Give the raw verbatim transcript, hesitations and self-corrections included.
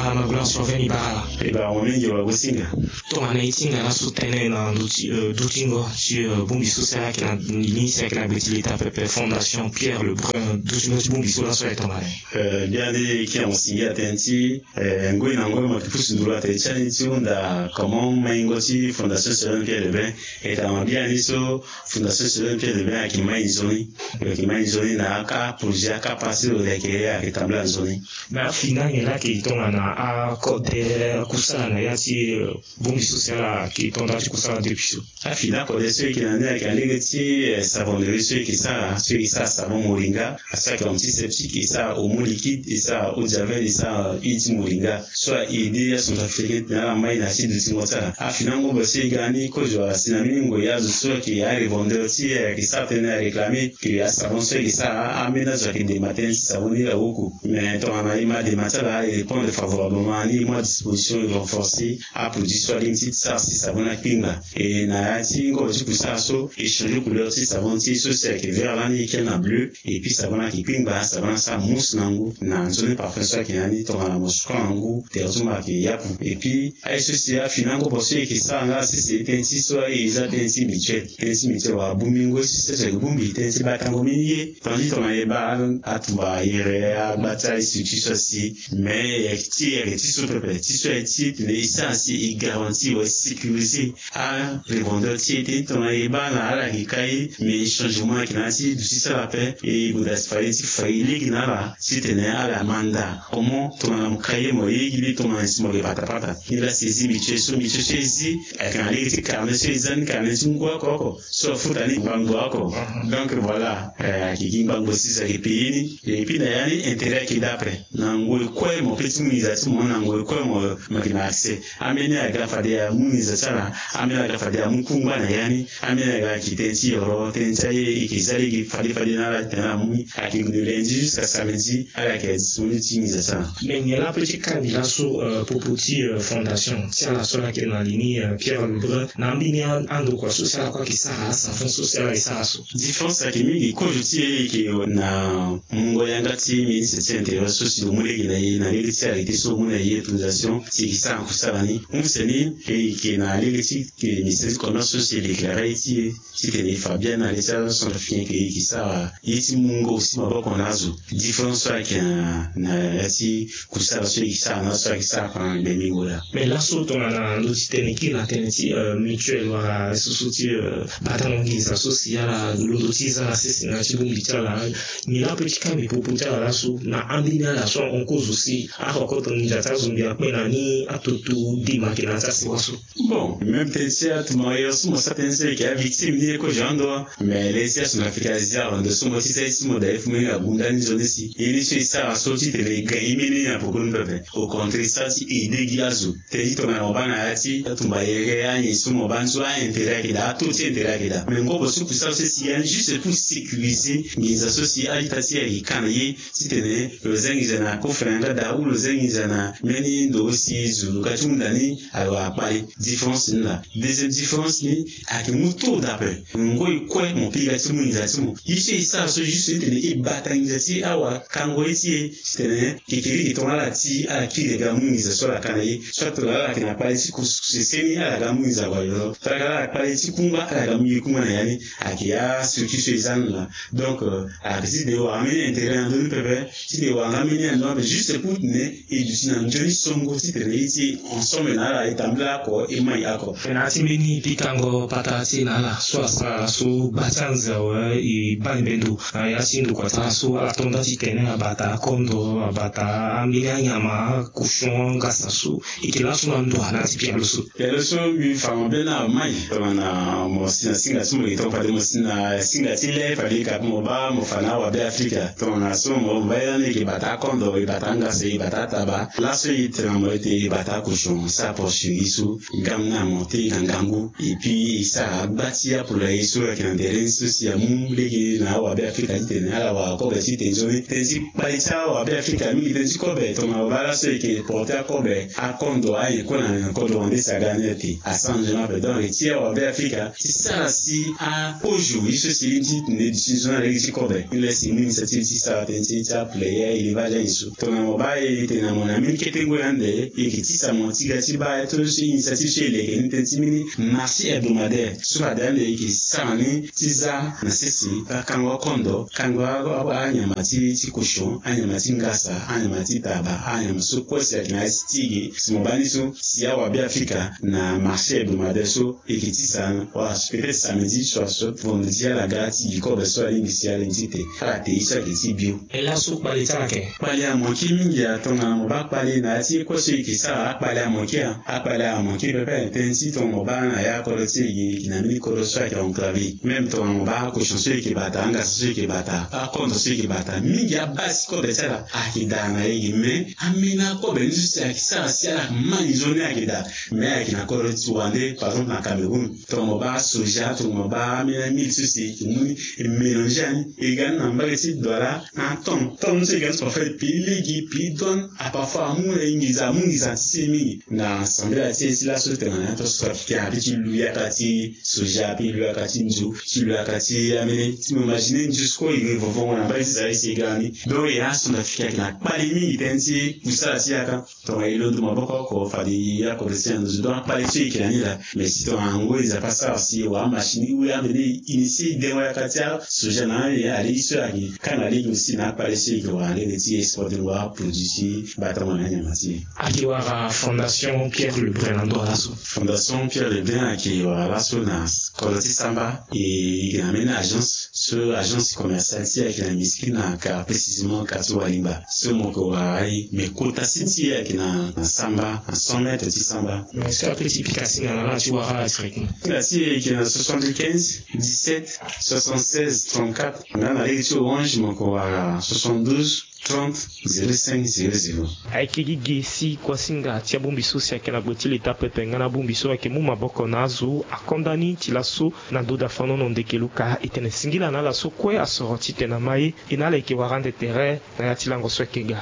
Amagula so aveni bara ala. E bara mo mingi wa gosinga. Tongana e ti hinga laso tënë na ndö ti, eh, dutingo ti, eh, bongbi so si ayeke na ni si ayeke na gbe ti leta pepe, Fondation Pierre Lebrun, dutingo ti bongbi so laso ayeke tongana ni. Eh, biani ki amosingi atënë ti, eh, ngoi na ngoi mo yeke pusu nduru atene ti ani ti hunda comment maingo ti Fondation Citoyenne Pierre Lebrun. E tongana biani so Fondation Citoyenne Pierre Lebrun ayeke mai nzoni. Ayeke mai nzoni na aka projet, aka pasi lo yeke, ayeke tambula nzoni. Me afini ange laa ayeke tongana akode kusala na ya ti, eh, bongbi so si ala yeke to nda ti kusala depuis so. Afini akode so e yeke na ni ayeke na lege ti, eh, savonnerie so e yeke sara, so e yeke sara savon moringa, asara ayeke antiseptique, e sara omo liquide, e sara eau de javel, e sara huile ti moringa. So a aidé acentrafricain ti tene ala mai na ya ti dutingo ti ala. Afini angobo so e ga ni kozo asi na mbeni ngoi azo so ayeke arevendeur ti e ayeke sara tënë aréclamer que asavon so e yeke sara, ambeni azo ayeke dema tënë ti savon ni awoko. Mais tongana e ma dema ti ala, e répondre favorablement ni, e mu adisposition, e renforcer aproduit so alingbi ti sara si savon ni akpingba. E na ya ti ngobo ti kusala so, e changer couleur ti savon ti e so si ayeke vert lani e kia na bleu. Et puis savon ni ayeke kpingba, savon ni asara mousse na ngu na nzoni parfum so ayeke na ni. Tongana mo suka na ngu, tere ti mo ayeke yapu. Et puis aye so si afini angobo so e yeke sara nga sese tënë ti so aye e za tënë ti mutuelle. Tënë ti mutuelle wala bongbingo so si ayeke bongbi tënë ti batango mbeni ye. Tandis tongana e baa atumba yere agba ti aye structure so asi, mais e yeke ti, e yeke ti so pepe, ti so aye ti e tene e sara si e garantir wala e sécuriser arevendeur ti e. Tongana e baa na ala yeke kai, mais changement ayeke na ya ti duti ti ala ape. E gue daa si fade ti fa e lege na ala titene ala manda comment tongana mo kai ye mo ye gi li tongana si mo yeke patapata. Ni laa si e zi mutuelle so, mutuelle so e zi ayeke na lege ti carnet so e za ni, carnet ti ngu oko oko so afuta ni ngbangbo oko. Donc voilà, eh, ayeke gi ngbangbo si e yeke payer ni. Et puis na ya ni intérêt ayeke daa ape. Na ngoi kue mo pe ti mu nginza ti mo, na ngoi kue mo, mo yeke na accès. Ambeni aga fade amu nginza ti ala, ambeni aga fade amu kungba na ya ni, ambeni aga ayeke tënë ti yoro, tënë ti aye e yeke za lege fade fade na ala titene ala mu ni. Ayeke de lundi jusqu'à samedi ala yeke disponible ti nginza ti ala. Me nyen laa ape ti kani laso, euh, popo ti, euh, fondation ti ala so ala yeke na li ni, euh, Pierre Lebrun, na ambeni a-, andokua so si ala kue ayeke sara asavon so si ala yeke sara so? Différence ayeke mingi. Kozo ti e e yeke na mungo yanga ti ministre ti intérieur so si lo mu lege na e na lege ti arrêté so lo mu na e autorisation si e yeke sara kusala ni. Use ni e yeke na lege ti ministère ti commerce so si e déclaré ye ti e titene e fa biani na le ti acentrafricain ke e yeke sara ye ti mungo aussi maboko na azo. Différence so ayeke na, na ya ti kusala so e yeke sara na azo so ayeke sara pendant na gbengbingo laa. Mais laso tongana ndö ti tene kiri na tënë ti, euh, mutuelle wala so so ti, euh, batango nginza so si ala londo ti za na sese na ya ti bongbi ti ala. Nyen laa ape ti kani popo ti ala laso na ambeni ala so ahon kozo si afa koto nginza ti azo mbi akpe na ni atoto dema ayeke na ya ti asewa so. Bon, même tënë ti atumba yo so mo sara tënë so e yeke avictime ni e kozo ando. Mais le ti acentrafricain azi arondo so mo ti za ye ti mo daa e fu mbeni agunda ni nzoni si ye ni so e sara so titene e gagne mbeni na poko ni pepe. Au contraire e sara ti aidé gi azo. Tënë ti tongana mo baa na ya ti atumba yere anyen so mo baa ni so a-intérêt ayeke daa, ato ti intérêt ayeke daa. Mais ngobo so kusala so si ya ni juste pour sécuriser nginza so si a-ita ti e ayeke ka na ye titene lo za nginza na kofre na yanga daa ou lo za nginza na mbeni ndo so si zo lo ga ti hunda ni awa akpale. Différence ni laa. Deuxième différence ni ayeke mu taux daa ape. Ngoi kue mo piga ti mu nginza ti mo. Ye so e sara so juste titene e bata nginza ti e awa kango ye ti e titene kekereke tongana ala ti ala kiri aga mu nginza so ala ka na ye. Soit tongana ala yeke na kpale ti kusukuse seni ala ga mu nginza awa yoro. Tongana ala kpale ti kungba ala ga mu ye kungba na ya ni. Ayeke astructure so e za ni laa. Donc, euh, ayeke ti de wara mbeni intérêt na ndö ni pepe, ti de wara nga mbeni ando ape juste pour tene e duti na nzoni songo titene e ti ensemble na ala e tambula oko e mai oko. Na ya ti mbeni pikango patara ti e na ala so asara so gba ti anze awe e baa ni bendo na ya ti ndokua ti ala so ala to nda titene abata akondo, abata ambeni anyama, cochon, angasa so. E yeke laso na ndo na ya ti pialo so. Pialo so mbi fa mabe na amai tongana mo si na singa ti mo yeke tonga fade mo si na singa ti le fade ka mo baa mo fa na awabe Afrika. Tongana so mo baa ye lani e yeke bata akondo, e bata angasa, e bata ataba. Laso e tene na mo ete e bata akochon, sara porcherie so, gam na mo te e na ngangu. Et puis e sara agba ti apola ye so ayeke na ndere ni so si amu lege na awabe Afrika titene ala wara kobe ti tene nzoni. Tënë ti kpale ti awabe Afrika mingi tënë ti kobe. Tongana mo baa laso e yeke porte akobe, akondo, ayen kue na kodro wande si aga ni ete asara nzoni ape. Donc ti awabe Afrika ti sara si akozo ye so si lingbi ti tene duti nzoni na lege ti kobe. Ni le si mu initiative ti sara tënë ti ti aplayer élevage ayen so. Tongana mo baa e tene na mo na Na mbeni kete ngoi ande e yeke tisa mo ti ga ti baa aye ti so initiative so e leke ni tënë ti mbeni marché hebdomadaire so fade ande e yeke sara ni ti za na sese akango akondo, kango anyama ti kochon, anyama ti ngasa, anyama ti taba, anyama so kue si ayeke na ya ti ti ge si mo baa ni so si awabe afrika na marché hebdomadaire so e yeke tisa wala peut-être samedi soit vendredi ala ga ti gi kobe so alingbi si alingbi ti te ala te ye so ayeke ti bio. E laso kpale ti ala yeke kpale amoki mingi atongana mo baa kpale na ya ti ye kue so e yeke sara akpale amoki a akpale amoki pepe tënë ti tongana mo baa na ya akodro ti e gi e yeke na mbeni kodro so ayeke enclavé même tongana mo baa akochon so e yeke bata angasa so e yeke bata akondo so e yeke bata mingi abaa ti kobe ti ala ayeke daa na e gi mais ambeni akobe ni so si ayeke sara si ala ma ni zo ni ayeke daa. Mais ayeke na kodro ti wande par exemple na Cameroun tongana mo baa soja tongana mo baa ambeni amili so si e yeke mu ni e mélange ani e ga ni na mbage ti douala. Aton ton so e ga ni so parfois e pi ligi pi douane a parfois amu na e nginza amu nginza ti ti e mingi. Na sambela ti e ti laso tongana ya to so apikin ape ti lu yaka ti soja ape lu yaka ti nzu ti lu yaka ti amene ti mo imagine nzu siko e vovongo na mbage ti zali si e ga ni. Donc e ason na fika ayeke na kpale mingi tënë ti kusala ti yaka. Tongana e londo maboko oko fade e ya kodro ti e na nduzu donc akpale so e yeke na ni laa. Mais si tongana ngoi Nzapa asara si e wara amachine ou ambeni e initier e dengo yaka ti asoja na ni alingbi so ayeke kanga lege aussi na akpale so e yeke wara lege ti exporter ngoi aproduit ti batango na anyama ti e. Ayeke wara Fondation Pierre Lebrun na ndo laso. Fondation Pierre Lebrun ayeke wara laso na kodro ti samba e yeke na mbeni agence so agence commerciale ti e ayeke na Miskina car précisément quartier Walingba. So mo yeke wara aye mais kota si ti e ayeke na samba na cent mètres ti samba. Mais so ape ti pika singa na ala ti wara ala ti reke. Singa ti e ayeke na soixante-quinze dix-sept soixante-seize trente-quatre nga na lege ti Orange mo yeke wara soixante-douze trente zéro cinq zéro zéro. Ayeke gi ge si kuasinga ti abongbi so si ayeke na gbe ti leta pepe nga na abongbi so ayeke mu maboko na azo akonda ni ti laso. Na ndo dafanono ndeke luka e tene singila na ala so kue asoro titene ama ye. E na ala yeke wara ande tere na ya ti lango so ayeke ga.